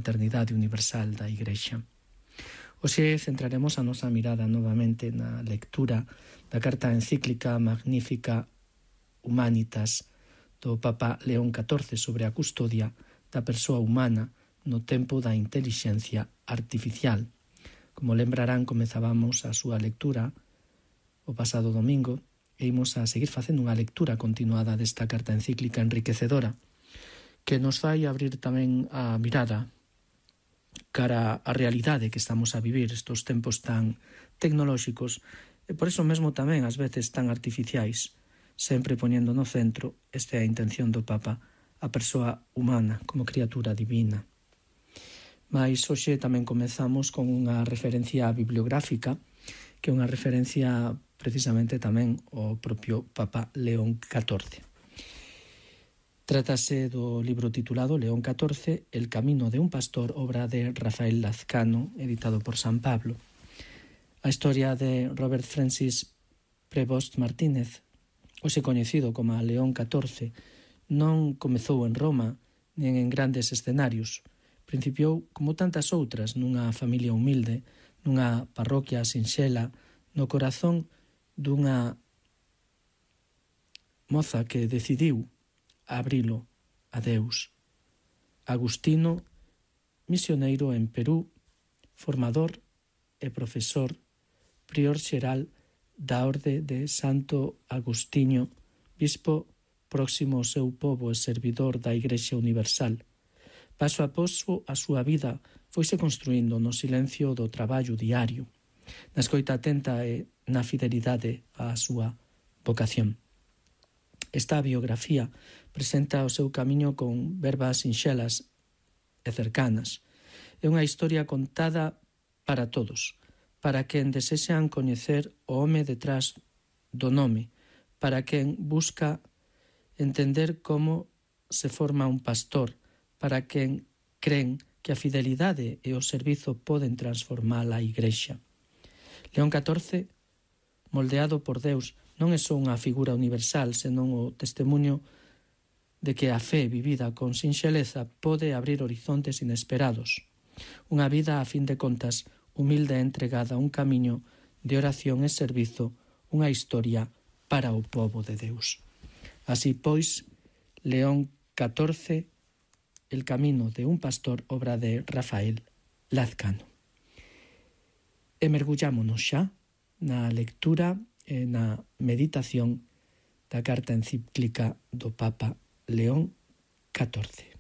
fraternidade universal da Igrexa. Hoxe centraremos a nosa mirada novamente na lectura da carta encíclica Magnificat Humanitas do Papa León XIV sobre a custodia da persoa humana no tempo da intelixencia artificial. Como lembrarán, comezábamos a súa lectura o pasado domingo e imos a seguir facendo unha lectura continuada desta carta encíclica enriquecedora que nos fai abrir tamén a mirada cara á realidade que estamos a vivir estes tempos tan tecnolóxicos e por iso mesmo tamén ás veces tan artificiais, sempre poñendo no centro, esta é a intención do Papa, a persoa humana como criatura divina. Mais hoxe tamén comezamos con unha referencia bibliográfica, que é unha referencia precisamente tamén ao propio Papa León XIV. Trátase do libro titulado León XIV, El camino de un pastor, obra de Rafael Lazcano, editado por San Pablo. A historia de Robert Francis Prevost Martínez, hoxe coñecido como León XIV, non comezou en Roma nen en grandes escenarios. Principiou, como tantas outras, nunha familia humilde, nunha parroquia sinxela, no corazón dunha moza que decidiu abrilo a Deus. Agustino, misioneiro en Perú, formador e profesor, prior xeral da Orde de Santo Agustinho, bispo próximo ao seu pobo e servidor da Igrexa Universal. Paso a paso a súa vida foise construindo no silencio do traballo diario, na escoita atenta e na fidelidade á súa vocación. Esta biografía presenta o seu camiño con verbas sinxelas e cercanas. É unha historia contada para todos, para quen desexan coñecer o home detrás do nome, para quen busca entender como se forma un pastor, para quen creen que a fidelidade e o servizo poden transformar a Igrexa. León XIV, moldeado por Deus, non é só unha figura universal, senón o testemunho de que a fe vivida con sinxeleza pode abrir horizontes inesperados. Unha vida, a fin de contas, humilde e entregada a un camiño de oración e servizo, unha historia para o pobo de Deus. Así pois, León XIV, El camino de un pastor, obra de Rafael Lazcano. E mergullámonos xa na lectura e na meditación da carta encíclica do Papa León XIV.